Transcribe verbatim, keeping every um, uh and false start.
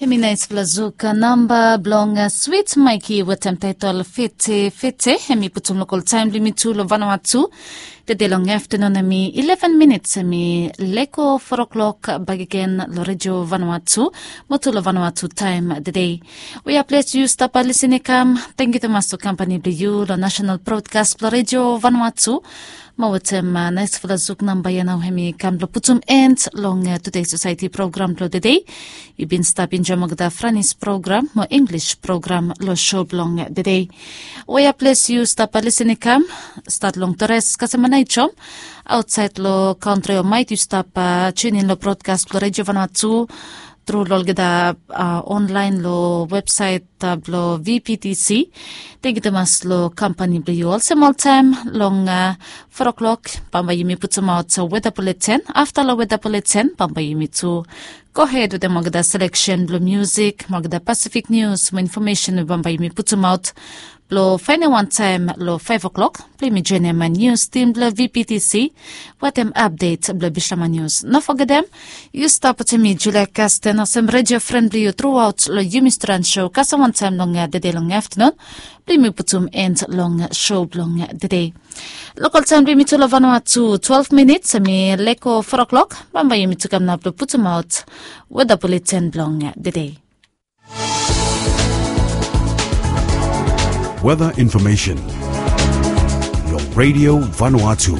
Mi naispela zuk namba bilong swit maiki wetem taitol fiti fiti, em i putum lokal taim bilong mi tu long vanua tu. Tede long aftanun em i eleven minits, em i leko four o'clock bakegen long redio vanua tu, mo tu long vanua tu taim tede. Wea ples yu stap lisin i kam, tengyu tumas long kampani bilong yu long nasional brodkas bilong redio vanua tu. Mo wetem naispela zuk namba ya nau em i kam bilong putum en long tudei sosaiti program bilong tede. Yu bin stap injoim olgeta franis program mo inglis program long sho bilong tede. Wea ples yu stap lisin i kam, stat long tores kasamanaitom, ausait long kantri o mait yu stap tunin long brodkas bilong redio vanua tu, tru long olgeta onlain long websait bilong vptc. Tengyu tumas long kampani bilong yu olsem oltaim long four o'clock, bambae yumi putumaot weda buleten. Afta long weda buleten bambae yumi tu gohed wetem olgeta seleksen bilong musik mo olgeta pasifik nius mo infomesen we bambae yumi putumaot. Bilong fainiman taim long five o'clock bilong yumi joinim nius tim bilong vptc wetem apdet bilong bislama nius. No fogetem, yu stap wetem mi Julia Kasten olsem redio fren bilong yu truaot long yumi stran sho kasem wantaim long tede long aftanun. Bilong yumi putum en long sho bilong tede. Lokal taim bilong yumi tu long vanua tu twelve minits, em i leko four o'clock, bambae yumi tu kam nap long putumaot weda buleten bilong tede. Weather information. Long Radio Vanuatu.